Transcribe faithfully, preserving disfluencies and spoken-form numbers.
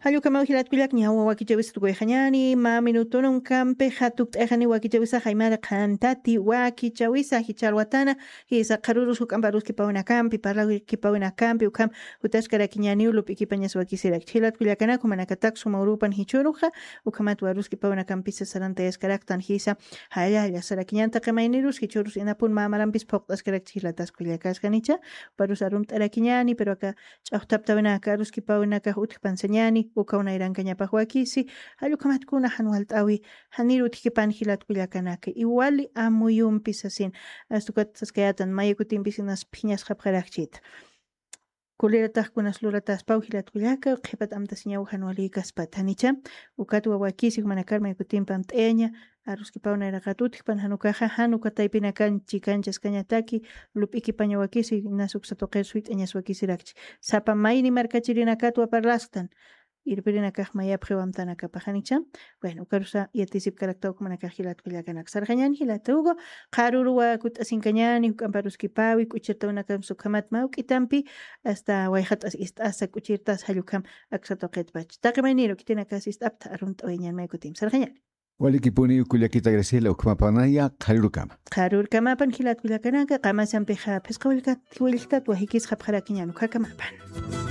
Jallukamaw jilatkullak ñawa wakichawisa tukuyxañani mä minutununkampi jatukt'ayxani wakichawisa jaymara qhantati wakichawisa jicharwatana. Jisa qharurus juk'ampa aruskipawinakampi parlawikipawinakampi ukham jutaskarakiñaniw lup'ikipañas wakisirakchi jilatkullakanaka jumanakatak suma urupan jichuruxa. Ukhamat waruskipawinakampisa sarantayaskaraktan jisa. Jalla jalla sarakiñan taqi maynirus jichurus inapun mä marampis phuqt'askarakchi jilataskullakasqanicha. Uparus arumt'arakiñani pero aka ch'axtaptawinaka aruskipawinakax utjpansañani ukaw nayrankañapax wakisi. Jallukamatkuna jan walt'awi. Janir utjkipan jilatkullakanaka iwali amuyumpi sasin. Astukat saskayatan mayakutimpis inas phiñasqapxarakchita. Kulirataxkunas lurataspaw jilatkullaka qhipat amtasiñaw jan walikaspat janicha. Ukat wawakisi jumanakar mayakutimpam t'eña aruskipaw nayraqat utjpan jan ukaxa jan uka taypinakan chikanchaskañataki. Lup'ikipañawakisi inas uksa tuqir suyt'añaswakisirakchi. Sapa mayni markachirinakatwa parlasktan. Irpirinakax mayapxiw amtanakapaxanicha. Bueno ukarusa yatisipkaraktaw jumanakax jilatkullakanaka sarxañani jilata hugo. Qharuruwa kut'asinkañani juk'amparuskipawi k'uchirtawinakampis ukhamat mawk'itampi asta wayxat'as ist'asa k'uchirtas jallukham. Aksa tuqitpach taqi mayniru khitinakas ist'apta arunt'awayañan maykutim sarxañani. Walikipuniw kullakita graciela ukhamapanaya qharurukama. Qharurkamapan jilatkullakanaka qamasampixa phisqa willktat willktat wajikisqapxarakiñan ukhakamapan.